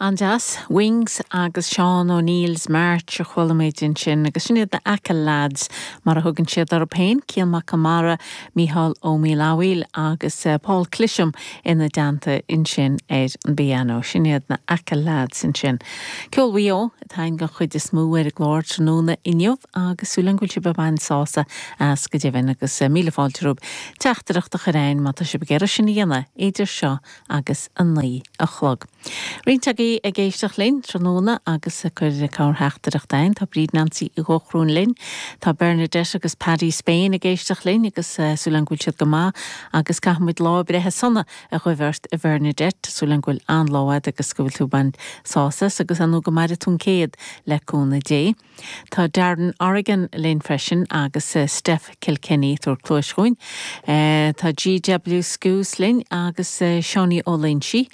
An-deas. Wings agus Seán O'Neill's March a chuala muid ansin agus sin iad na Achill Lads mar a thugann siad orthu féin, Cian Mac Conmara, Mícheál Ó Maolfabhail agus Paul Clisham ina dteannta ansin ar an bpianó. Sin iad na Achill Lads ansin. Ceol Mhaigh Eo atá againn den chuid is mó ar an gclár tráthnóna inniu agus súil agam go bhfuil sibh ag baint sásamh as go deimhin agus míle fáilte romhaibh teachtaireacht a chur a'ainn má tá sibh ag iarraidh sin a dhéanamh idir seo agus a 9 a chlog. Roinnt agaibh ag éisteacht linn tráthnóna agus ag cur corrtheachtaireacht a'ainn. Tá Bríd Nancy Uí Dhóchrúin linn. Tá Bernadette agus Paddy Spain ag éisteacht linn agus súil agam go bhfuil siad go maith agus caithfidh muid lá breithe sona a ghuí ort a Bhernadette. Súil agam go bhfuil an-lá a'd agus go bhfuil tú ag baint sásamh as agus ar ndóigh go maire tú an céad le cúnamh Dé. Tá Darren O'Regan linn freisin agus Steph Kilkenny ag tabhairt cluais dhúinn. Tá GW Scoos linn agus Seánie Ó Loinsigh,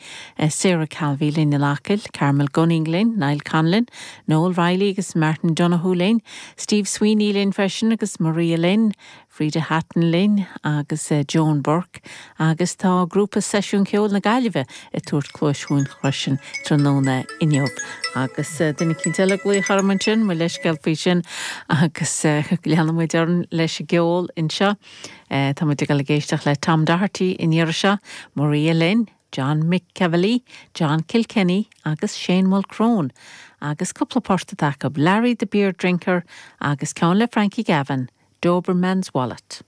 Sarah Calvey linn in Acaill, Carmel Gunning linn, Niall Conlon, Noel Reilly agus Martin Donoghue linn, Steve Sweeney linn freisin agus Maria linn, Frida Hatton linn agus Joan Burke agus tá grúpa Seisiún Ceoil na Gaillimhe ag tabhairt cluais dhúinn freisin tráthnóna inniu. Agus duine eicínt eile ag glaoch orm ansin, mo leithscéal faoi sin agus leanfaidh muid orainn leis an gceol anseo. Tá muid ag dul ag éisteacht le Tom Doherty an iarraidh seo, Maria linn, John McEvilly, John Kilkenny agus Shane Mulchrone agus cúpla port atá acu, Larry the Beer Drinker agus ceann le Frankie Gavin, Doberman's Wallet.